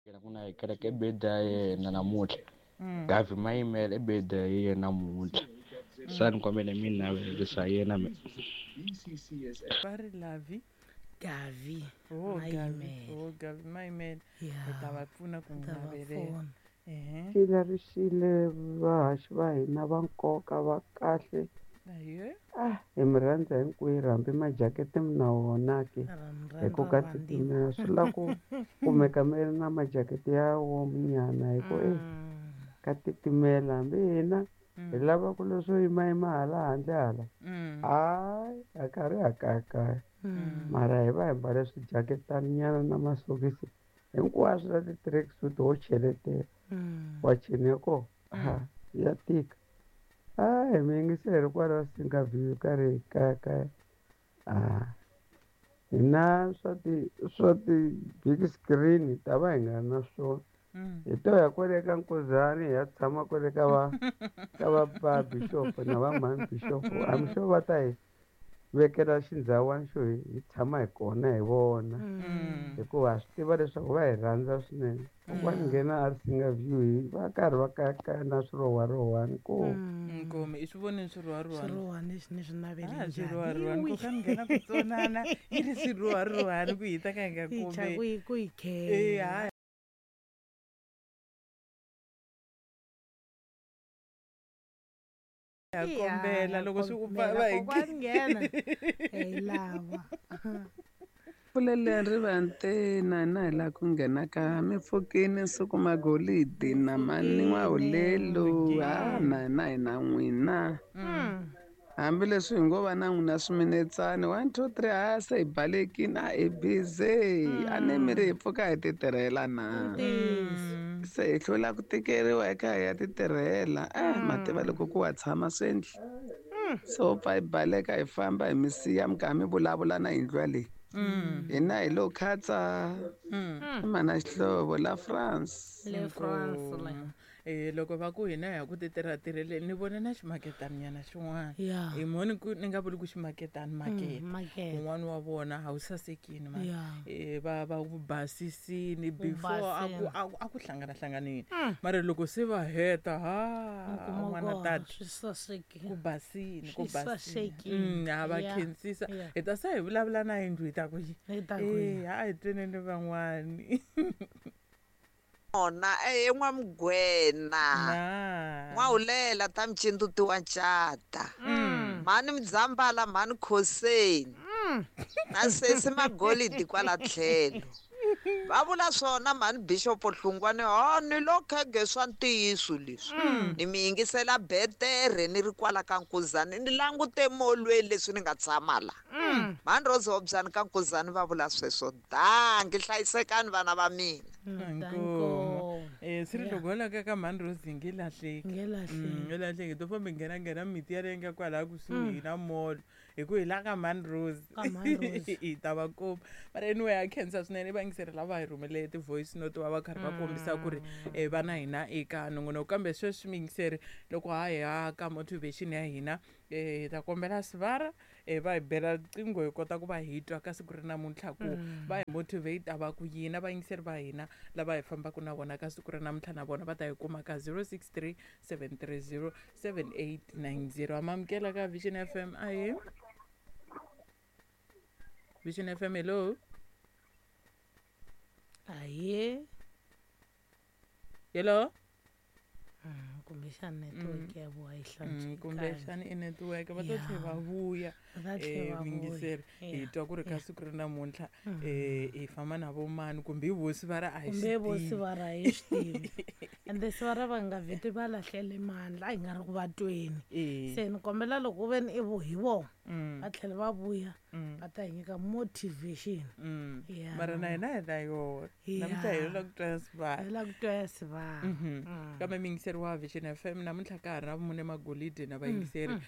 Ku na hi kereke i birthday ya yena namuntlha. Gavi Mayimele i birthday ya yena namuntlha. Se a ni kombela mi ni navelerisa yena me. Va ri Lavi. Gavi Oh, Gavi. Mayimele. Oh, Gavi Mayimele. Ya. Hi ta va pfuna ku n'wi Ta va navelela. pfuna. Ehe. Xila ri xile vahaxi va hina va nkoka va kahle. Ahee. Ah, hi mi rhandza hinkwerhu hambi majakete mi na wona ke Ra mi hi ku rhandza ka vantima. titimela swi lava ku kumeka mi ri na majakete ya warm nyana hi ku e ka titimela hambi hina hi lava ku leswo yimayima hala handle hala hayi a karhi ha kayakaya mara hi va hi mbale swijaketani nyana na masokisi hinkwaswo na ti-tracksuit ho cheletela wacheni ya kona ha ya tika. Hayi mi yingiseri kwala Singaview karhi hi kayakaya a hina swa ti swa ti-big screen hi ta va hi nga ri na swona hi to ya kwale ka Nkuzani hi ya tshama kwale ka va ka va va bishop na va mhani bishop I'm sure va ta hi vekela xindhawani xo hi hi tshama hi kona hi vona hikuva ha swi tiva leswaku va hi rhandza swinene. Kokwani nghena a Singaview hi va karhi va kayakaya na swirhowarhowani ko. Nkomi i swi vonile swirhowarhowani. Swirhowarhowani leswi ni swi navele Ah, njhani? swirhowarhowani Iwi. ko ka ni nghena ku tsonana yi ri swirhowarhowani ku hi ta ka hi nga Yi cha kumeki. ku yi ku yi Eh, khela. hayi. Ha Ya, kombela ha loko swi ku kombela. va hi Kokwani nghena. Hi lava. Pfuleleni rivanti na hina hi laha ku nghena ka mi pfukini nsuku magolidi na mani n'wahulelo ha na hina hi na n'wina hambileswi hi ngo va na n'wina swiminetsani 1 2 3 ha se hi balekini a hi busy a ni mi ri hi pfuka hi ti tirhela na se hi hlwela ku tikeriwa hi kha hi ya ti tirhela ma tiva loko ku wa tshama swi endli se ho pfa hi baleka hi famba hi mi siya mi karhi mi vulavula na yindlu yaleyi hina hi lo khatsa i mana xihlovo la France. Le France le. Eh, loko va ku hina hi ya ku ti tirha-tirheleni ni vone na ximaketani nyana xin'wana. Ya. Hi moni ku ni nga vuli ku ximaketani makete. Makete. Un'wana wa vona a wu sasekini mani. Ya. Eh, va va ku basisini Wu before a ku basile. a ku a ku hlangana-hlanganini. Mara loko se va heta ha U kuma n'wana ku tata. swi sasekile. Ku basini ku Swi basini. sasekile. Ha va Ya. khensisa. Ya. Hi ta se hi vulavula na yindlu hi ta ku yi. Hi ta ku yi. Eh, a hi tweneni van'wani. Ona e n'wamugwena Na. n'wahulela ta mcinduti wa ncata mhani Mudzambala mhani Khoseni na sesi Magolidi kwala tlhelo va vula swona mhani Bishop Hlungwani ho ni lo khege swa ntiyiso leswi ni mi yingisela betere ni ri kwala ka Nkuzani ni langute molweni leswi ni nga tshama la mhani Rose Hobyani ka Nkuzani va vula sweswo dangi hlayisekani vana va mina. Inkomu. Eh, swi ri Ya. loko ho laka ka mhani Rose hi nge lahleki. Nge lahleki. Nge lahleki. To famba hi nghenanghena miti yaleyo nga kwalaya kusuhi na mall hi ku hi la ka mhani Rose. Ka mhani Rose. Hi ta va kuma. Mara anyway ha khensa swinene vayingiseri lava hi rhumele ti-voice note va va karhi va kombisa ku ri va na hina eka nongonoko kambe sweswi miyingiseri loko ha ya ka motivation ya hina hi ta kombela sivara va hi bela riqingho hi kota ku va hi twa ka siku ri namuntlha ku va hi motivate va ku yini vayingiseri va hina lava hi fambaka na vona ka siku ri namuntlha na vona va ta hi kuma ka 063 730 7890 amamukela ka Vision FM ahe Vision FM hello. Ahee. Hello. Kumbexana network ya vona yi hlantswekanga. Kumbexana i network va ta Ya. tlhela va vuya. Va ta tlhela va vuya. Muyingiseri hi Ya. twa ku ri ka Ya. siku ri namuntlha hi famba na vo mani kumbe hi vosi va ri a hi Kumbe swi vo tivi. sivara a hi swi tivi. Ende sivara va nga vheti va lahlele mandla a hi nga ri ku va tweni. Eh. Se ni kombela loko ku ve ni i vo hi vona va tlhela va vuya va ta hi nyika motivation. Ya. Mara na hina hi na yona. Namuntlha hi la ku twa ya sivara. Hi la ku twa ya sivara. Kambe muyingiseri wa Vision FM namuntlha ka ha ri na vumune magolide na vayingiseri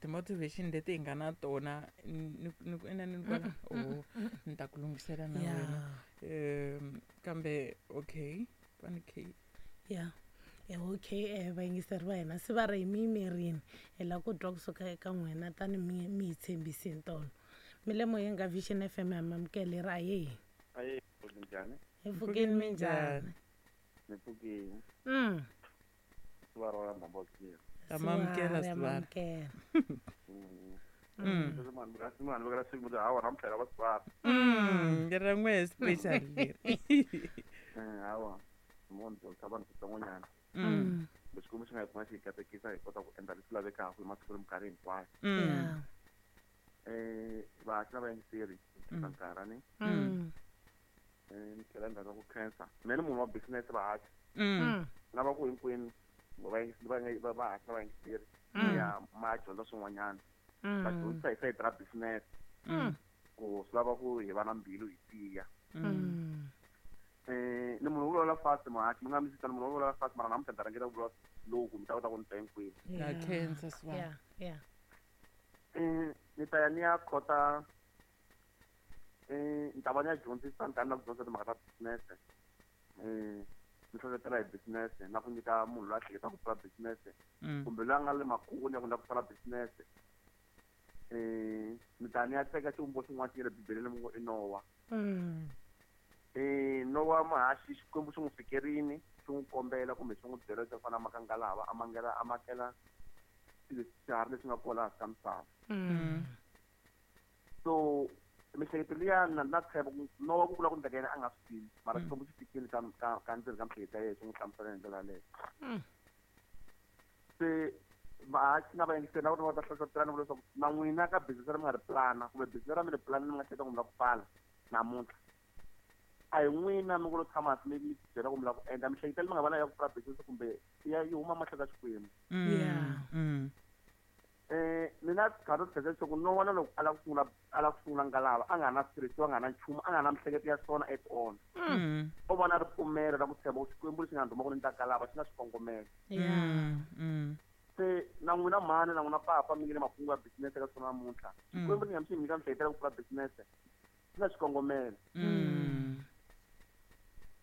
ti-motivation leti hi nga na tona ni ku ina ni kwala oh ni ta ku lunghisela na Ya. wena kambe okay va ni k Ya. Okay vayingiseri va hina se va ri hi mi yimerini hi lava ku twa kusuka eka n'wina tani mi mi hi tshembisini tolo mi le moyeni ka Vision FM ha mi amukela ri ahee. Ahee, njhani? Hi pfukini, minjhani? Ni pfukini. Sivara ra Ndhambokiya. Tamamukela Sivara. Amukela. Mani vekela siku hawa namuntlha va Sivara. Leri ra n'wehe special leri. Hawa. Munhu dyondzisa vanhu switsongonyana. Xikwembu xi nga hi pfuna xi hi katekisa hi kota ku endla leswi lavekaka hi masiku ni minkarhi hinkwayo. Vaaki na vayingiseri nkarhi ni tlhela ni rhandza ku khensa. Mina ni munhu wa business vahaxi. Lava ku hinkwenu vahaxi na vayingiseri ya ma dyondza swin'wanyana. Va dyondzisa hi sayiti ra business ku swi lava ku hi va na mbilu hi tiya. Ni munhu wo vulavula fast muhaxi, mi nga mi sitani munhu wo vulavula fast mara namuntlha ni ta rhangela ku vulavula loku mi ta kota ku ni twa hinkwenu. Na khensa Sivara. Yeah. Ni ta ya ni ya khota ni ta va ni ya dyondzisa ni ta ni la ku dyondzisa timhaka ta business. Ni hlohlotela hi business na ku nyika munhu loyi a hleketaka ku pfula business kumbe loyi a nga le makungu ya ku lava ku pfula business. Ni ta ni ya teka xivumbo xin'wana xi nga le Bibeleni mi ngo i Nowa. Nowa muhaxi Xikwembu xi n'wi fikerini xi n'wi kombela kumbe xi n'wi byela leswaku fana makangalava a mangela a makela swiharhi leswi nga kona hansi ka misava. So miehleketo liya na tshemba ku Nowa ku vula ku ndleka yena a nga swi tivi mara Xikwembu xi fikile ka ndzeni ka miehleketo ya yena xi n'wi hlamusela hi ndlela yaleyo. Se vahaxi na vayingiseri na vona va ta hlohlotelana vula leswaku na n'wina ka business ra mi nga ri plana kumbe business ra mi ri plana mi nga hleketa ku mi lava ku pfala namuntlha. A hi n'wina mi ngo lo tshama hansi mi byela ku mi lava ku endla miehleketo leyi mi nga va na ya ku pfula business kumbe ya yi huma mahlweni ka Xikwembu. Mina rhandza ku tlhela leswaku Nowa na loko a lava ku sungula ngalava a nga na switirhisiwa a nga na nchumu a nga na miehleketo ya swona at all. O va na ripfumelo ra ku tshemba ku Xikwembu lexi nga ni rhuma ku ni ta ngalava xi na xikongomelo. Se na n'wina mhani na n'wina papa mi nge le makungu ya business ka swona namuntlha. Xikwembu ni nga mi xi nyika miehleketo ya ku pfula business xi na xikongomelo.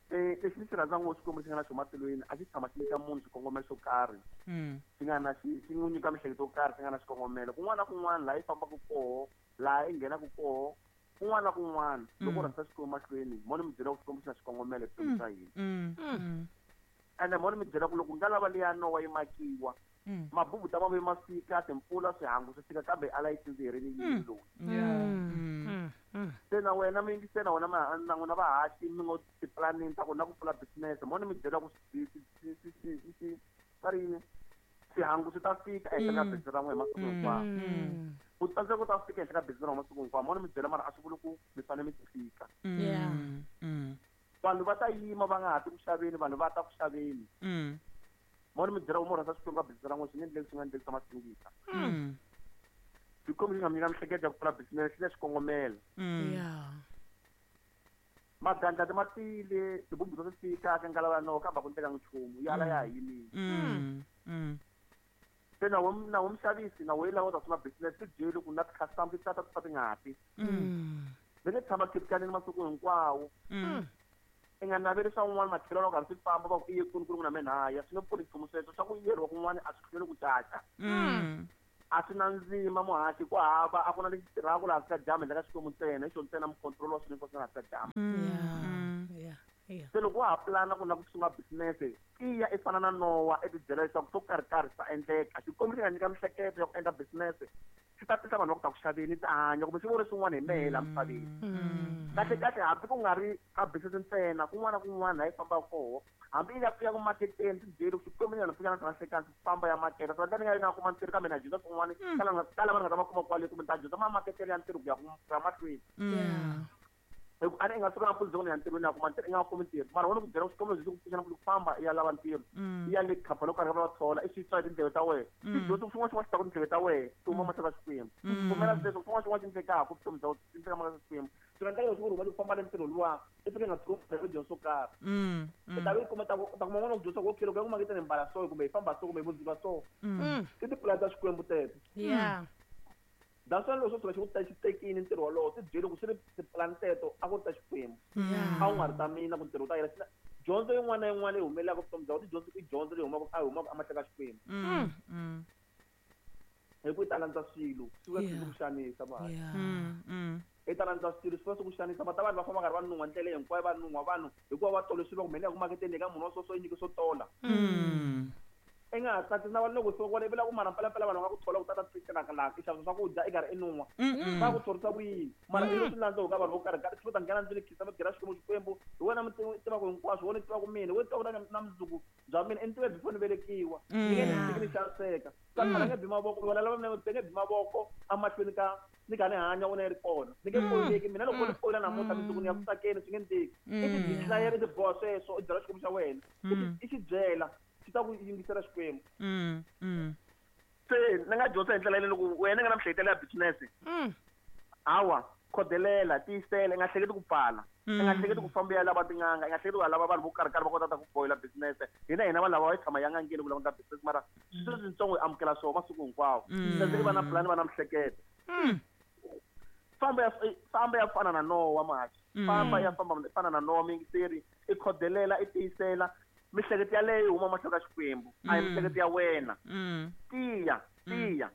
Lexi ni xi rhandzaka ngopfu Xikwembu xi nga na xona matilweni a xi tshama xi nyika munhu xikongomelo xo karhi. Xi nga na xi n'wi nyika miehleketo yo karhi xi nga na xikongomelo. Kun'wana na kun'wana laha yi fambaka koho, laha yi nghenaka koho, kun'wana na kun'wana loko u rhangisa Xikwembu mahlweni mo ni mi byela ku Xikwembu xi na xikongomelo evuton'wini bya hina. Ende mo ni mi byela ku loko ngalava liya Nowa yi makiwa mabubu ta ma fika timpfula swihangu swi fika kambe a la yi tsindziherini yini loyi. Se na wena mi yingisela na wena na n'wina vahaxi mi ngo tiplanini ta ku na ku pfula business mo ni mi byela ku va ri yini swihangu swi ta fika ehenhla ka business ra n'wina hi masiku hinkwawo. Ku tsandzeka ku ta fika ehenhla ka business ra n'wina masiku hinkwawo mo ni mi byela mara a swi vuli ku mi fanele mi fika. Vanhu va ta yima va nga ha ti ku xaveni vanhu va ta ku xaveni. Mo ni mi byela ku mo rhandza Xikwembu ka business ra n'wina swi nge endleki swi nga endleki swa masingita. Xikwembu xi nga mi nyika miehleketo ya ku pfula business xi na xikongomelo. Magandlati ma tile tibumbu to fika ka ngalava ya Nowa kambe a ku endlekanga nchumu ya ala ya ha yimile. Se na wo muxavisi na wo lava u ta sungula business ti byeli ku na ti-customer ti tata ti fa ti nga ti. Va nge tshama khiphikanini masiku hinkwawo. I nga naveli swa un'wana matlhelo loko karhi swi famba va ku i ye kwini ku ri ku na mina haya swi nge pfuni nchumu sweswo swa ku yeriwa kun'wana a swi hlweli ku caca. A swi na ndzima muhaxi ku hava a ku na lexi tirhaka laha hansi ka dyambu handle ka Xikwembu ntsena hi xona ntsena mucontrol wa swilo hinkwaswo laha hansi ka dyambu. Se loko wa ha plana ku lava ku sungula business tiya i fana na Nowa i tibyela leswaku swo karhi karhi swi ta endleka. Xikwembu xi nga nyika miehleketo ya ku endla business xi ta tisa vanhu va ku ta ku xaveni ta hanya kumbe xi vone swin'wana hi mehe laha misaveni. Kahle kahle hambi ku nga ri ka business ntsena kun'wana na kun'wana laha yi fambaka koho hambi yi ya ku maketeni ti byeli ku Xikwembu ni nga ni pfuka na nhlikani famba ya makete swi endla ni nga yi nga kuma ntirho kambe na dyondza swin'wana ka lava ni nga ta va kuma kwale kumbe ni ta dyondza mamaketele ya ntirho ku ya ku ya mahlweni. Hi ku a ni i nga suka nampundzu ni ya ntirhweni ya kuma ntirho i nga kumi ntirho mara wona ku byela ku Xikwembu lexi ku pfuxa ku famba i ya lava ntirho i ya le khampani yo karhi va thola i swi twa hi tindleve ta wena tidyondzo xin'wana xin'wana xi ta ku tindleve ta wena ti huma mahlweni ka Xikwembu pfumela sweswo xin'wana xin'wana xi endlekaka vutomi bya xi endleka mahlweni ka Xikwembu swi nga endleka leswaku rhumela ku famba le ntirho luwa i fike nga tshuki u dyondza swo karhi i ta ve u kuma ta kuma n'wana ku dyondza ku okay loko ya ku maketeni hi mbala so kumbe hi famba so kumbe hi vundzuka so i tipulani ta Xikwembu teto. That's why loko swo tshuka xi ku ta xi tekile ntirho wolowo ti byeli ku swi ri tipulani teto a ku ri ta Xikwembu a wu nga ri ta mina ku ntirho wu ta yela dyondzo yin'wana na yin'wana leyi humelelaka vutomi bya wena tidyondzo i dyondzo leyi humaka a humaka emahlweni ka Xikwembu hi ku yi ta landza swilo swi va swi ku xanisa mali. I ta landza swilo swi va swi ku xanisa va ta vanhu va famba karhi va nun'hwa ndlela hinkwayo va nun'hwa vanhu hikuva va tole swilo va ku mheni ya ku maketeni eka munhu wa so so yi nyike swo tola. I nga ha tsakisi na vanhu loko suka kwale i vula ku mara mpelampela vanhu va nga ku thola ku tata tirhaka laha i xavisa swakudya i karhi i nun'hwa va ku thorisa ku yini mara i swi landza ka vanhu vo karhi karhi swi ta nghena ndzeni khisa mi byela Xikwembu Xikwembu hi wena mi tivaka hinkwaswo wena tivaka mina wena tivaka na mundzuku bya mina i ni tive before ni velekiwa ni nge ni tshiki ni xaniseka sathana nge bi mavoko wena lava mina nge bi mavoko emahlweni ka ni kha ni hanya wena yi ri kona ni nge poyileki mina loko ni poyila namuntlha mundzuku ni ya ku tsakeni swi nge ni teki i ti declare i ti boha sweswo i byela Xikwembu xa wena i xi byela xi ta ku yingisela Xikwembu. Se ni nga dyondza hi ndlela yaleyo loko wena i nga na miehleketo ya business hawa khodelela tiyisela i nga hleketi ku pfala i nga hleketi ku famba ya lava tin'anga i nga hleketi ku ya lava vanhu vo karhi karhi va kota ta ku boyela business hina vanhu lava va yi tshama ya n'angeni ku languta business mara swilo leswitsongo hi amukela swona masiku hinkwawo se i va na plan va na miehleketo famba ya fana na Nowa mhaxi famba ya famba fana na Nowa muyingiseri i khodelela i tiyisela miehleketo yaleyo yi huma mahlweni ka Xikwembu a hi miehleketo ya wena tiya tiya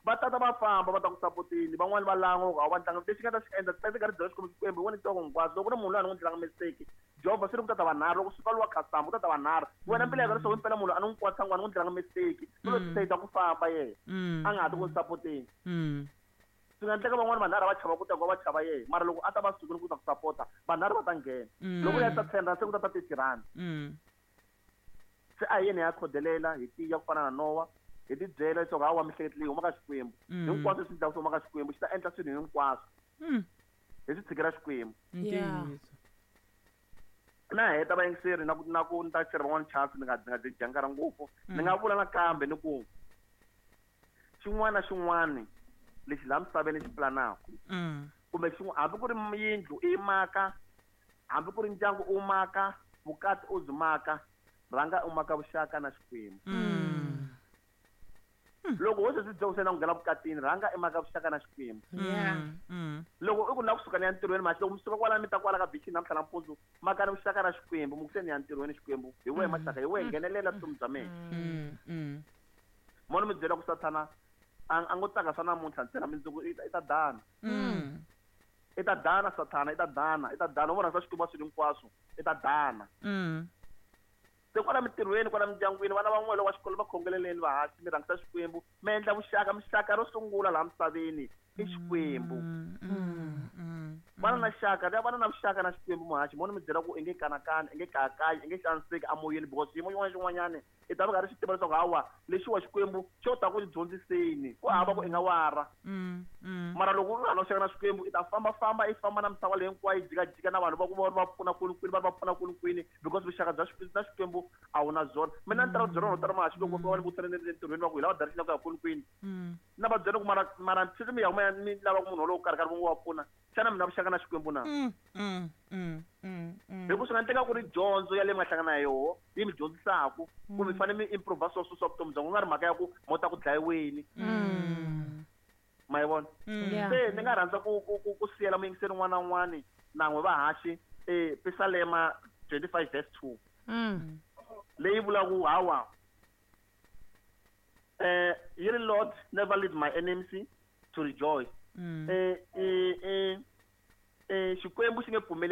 va tata va famba va ta ku sapotini van'wani va lan'wa ku a wu va tlanga lexi nga ta xi endla ti karhi byela Xikwembu Xikwembu hi wena tivaka hinkwaswo loko ku ri munhu loyi a ni n'wi ndlelanga mistake Jehovha swi ri ku tata vanharhu loko suka luwa customer ku tata vanharhu wena mbilu ya leswaku impela munhu a ni n'wi kwatisa a ni n'wi ndlelanga mistake u lo decide ku famba yena a nga ha ti ku sapoteni swi nga endleka van'wani vanharhu va chava ku ta ku va chava yena mara loko a ta va sukile ku ta ku sapota vanharhu va ta nghena loko ya ta 10 rand se ku ta ta 30 rand se a hi yena ya khodelela hi tiya ku fana na Nowa hi ti byela leswaku hawa miehleketo leyi huma ka Xikwembu hinkwaswo leswi endlaka swi huma ka Xikwembu xi ta endla swilo hinkwaswo hi swi tshikela Xikwembu. Na heta vayingiseri na ku ni ta chela van'wani chance ni nga dyi nkarhi ngopfu ni nga vula nakambe ni ku xin'wana na xin'wana lexi laha misaveni xi planaka kumbe hambi ku ri yindlu i maka hambi ku ri ndyangu u maka vukati u byi maka rhanga u maka vuxaka na Xikwembu. Loko wo se swi byela ku nghena vukatini rhanga i maka vuxaka na Xikwembu. Loko i ku na kusuka ni ya ntirhweni mhaxi loko mi suka kwala mi ta kwala ka bichini namuntlha nampundzu maka ni vuxaka na Xikwembu mi ku se ni ya ntirhweni Xikwembu hi wehe maxaka hi wehe nghenelela vutomi bya mina. Mona mi byela ku sathana a ngo tsaka swa namuntlha ntsena mundzuku i ta dana. I ta dana sathana i ta dana i ta dana u vona swa Xikwembu swilo hinkwaswo i ta dana. Se kwala mintirhweni kwala mindyangwini vana van'we loko va xikolo va khongeleleni vahaxi mi rhangisa Xikwembu mi endla vuxaka mixaka ro sungula laha misaveni i Xikwembu. Vana na xaka vana na vuxaka na Xikwembu muhaxi mona mi byela ku i nge kanakani i nge kayakayi i nge xaniseki amoyeni because xiyimo xin'wana na xin'wanyana i ta va karhi xi tiva leswaku hawa lexiwa Xikwembu xo ta ku dyondziseni ku hava ku i nga wara mara loko u nga na vuxaka na Xikwembu i ta fambafamba i famba na misava leyi hinkwayo yi jikajika na vanhu va ku va va pfuna kwini va va pfuna kwini because vuxaka bya na Xikwembu a wu na byona. Mina ni tala ku byela vanhu vo tala mahaxi loko va ni vutisa entirhweni va ku hi lava direction ya ku ya kwini na va byela ku mara sweswi mi ya huma mi lava ku munhu wolowo karhi karhi va pfuna xana mi na vuxaka na Xikwembu na? Hi ku swi nga endleka ku ri dyondzo ya leyi mi nga hlangana na yoho yi mi dyondzisaku ku mi fanele mi improve swo swa vutomi bya n'wina ku nga ri mhaka ya ku mo ta ku dlayiweni. Ma yi vona? Se ni nga rhandza ku siyela muyingiseri un'wana na un'wana nan'we vahaxi Pisalema 25 verse 2 leyi vulaka ku hawa yi ri Lord never lead my enemies to rejoice. Xikwembu xi nge pfumeli